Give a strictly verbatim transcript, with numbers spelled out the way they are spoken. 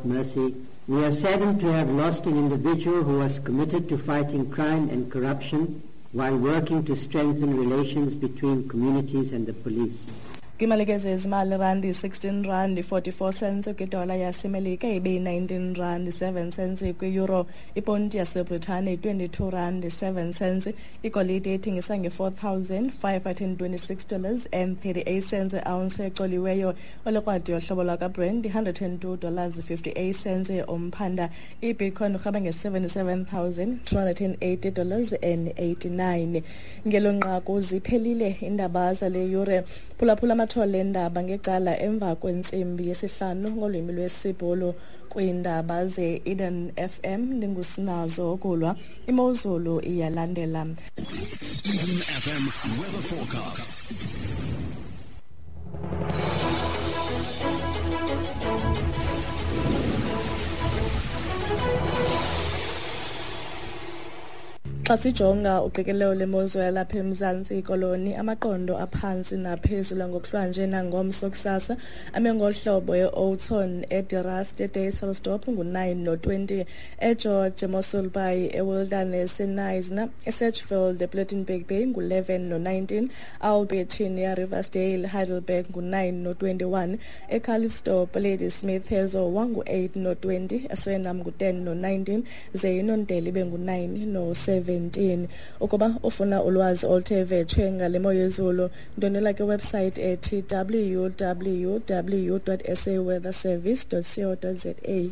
without mercy. We are saddened to have lost an individual who was committed to fighting crime and corruption while working to strengthen relations between communities and the police. Kwimalike zezimali, randi sixteen rand forty-four cents kwidola yaseMelika, ibe nineteen rand seven cents kwi-euro. Iponti yaseBritane twenty-two rand seven cents. Igolide ithengisa nge-four thousand five hundred twenty-six dollars and thirty-eight cents ounce ecoliweyo. Olekrwadi yohlobo lwakaBrent one hundred and two dollars fifty-eight cents umphanda. I-Bitcoin urhaba nge-seventy-seven thousand two hundred and eighty dollars and eighty-nine. Ngelo nqaku ziphelile iindaba zale yure. Phulaphula amathole endaba ngecala emva kwentsimbi yesihlanu ngolwimi lwesiBhulu kwiindaba ze-Eden F M. Ndingusinazo Okulwa. Imozulu iyalandela. Eden F M weather forecast. Xa sijonga uqikelelo lwemozulu yalapha eMzantsi Koloni, amaqondo aphantsi naphezulu ngokuhlwanje nangomso kusasa ame ngohlobo: e-Oudtshoorn, eDe Rust, eDysselsdorp ngu-nine no-twenty, eGeorge, eMossel Bay, eWilderness, eKnysna, eSedgefield, ePlettenberg Bay ngu-eleven no-nineteen, Alberton, eRiversdale, Heidelberg ngu-nine no-twenty-one, eCalitzdorp, Ladysmith, eZowa ngu-eight no-twenty, eSwellnum ngu-ten no-nineteen, ze iNondeli ibe ngu-nine no-seventeen. Ukuba ufuna ulwazi oluthe vetshe ngale mo yezulu, ndwendwela kwiwebsite ethi w w w dot s a weather service dot co dot z a.